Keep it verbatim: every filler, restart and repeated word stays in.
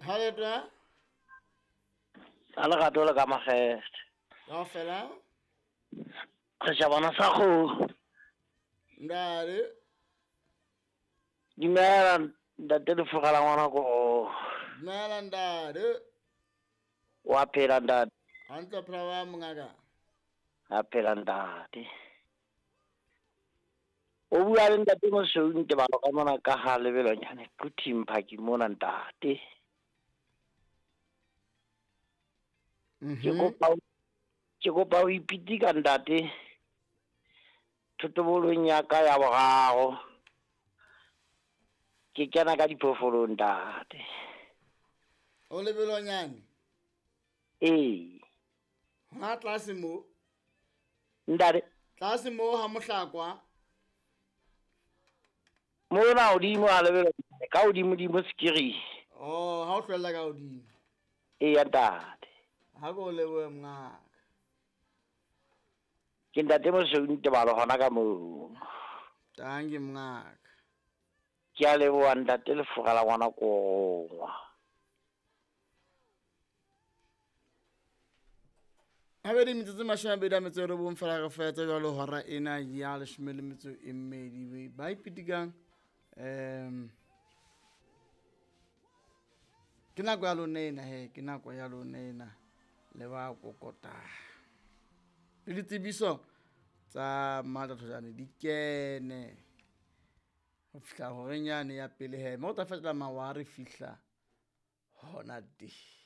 Ha le twa? A lerato le ka makgethe. Kaofela? Setjhabana sa kgomo. Ntate. Dumela ntate Lefura la ngwana ko. Dumela ntate. Wa phela ntate. Hantle phela wa mongaka. A phela ntate. O bua le ntate Mosweu nte ba ka mona ka ha lebelonyane Quthing Phaki mona ntate. Ke kopa ke kopa o ipitika ntate. Thotobolong ya ka ya boraro. Ke kena ka diphoofolong ntate. O lebelonyane? Ee. Ha tlase mo? Ntate. Tlase mo ha mohlakwa. Mona hodimo ha lebelonyane, ka hodimo dimo sekiri. Oh, ha o hlwella ka hodimo. Ee ntate. Ha go lebohe mongaka. Ke ntate Mosweu Ntebalo hona ka moo. Tangi mongaka. Ke a leboha ntate Lefura la ngwana kongwa. Habedi metsotso mashome a mabedi a metso e robong fela re fetsa jwalo hora ena ya leshome le metso e mmedi. Ba ipitikang um ke nako ya lona ena he, ke nako ya lona ena le ba kokota. Le ditsebiso tsa Matla Thojane di kene ho fihla horeng yane ya pele he, mme o tla fetola mawa re fihla hona teng.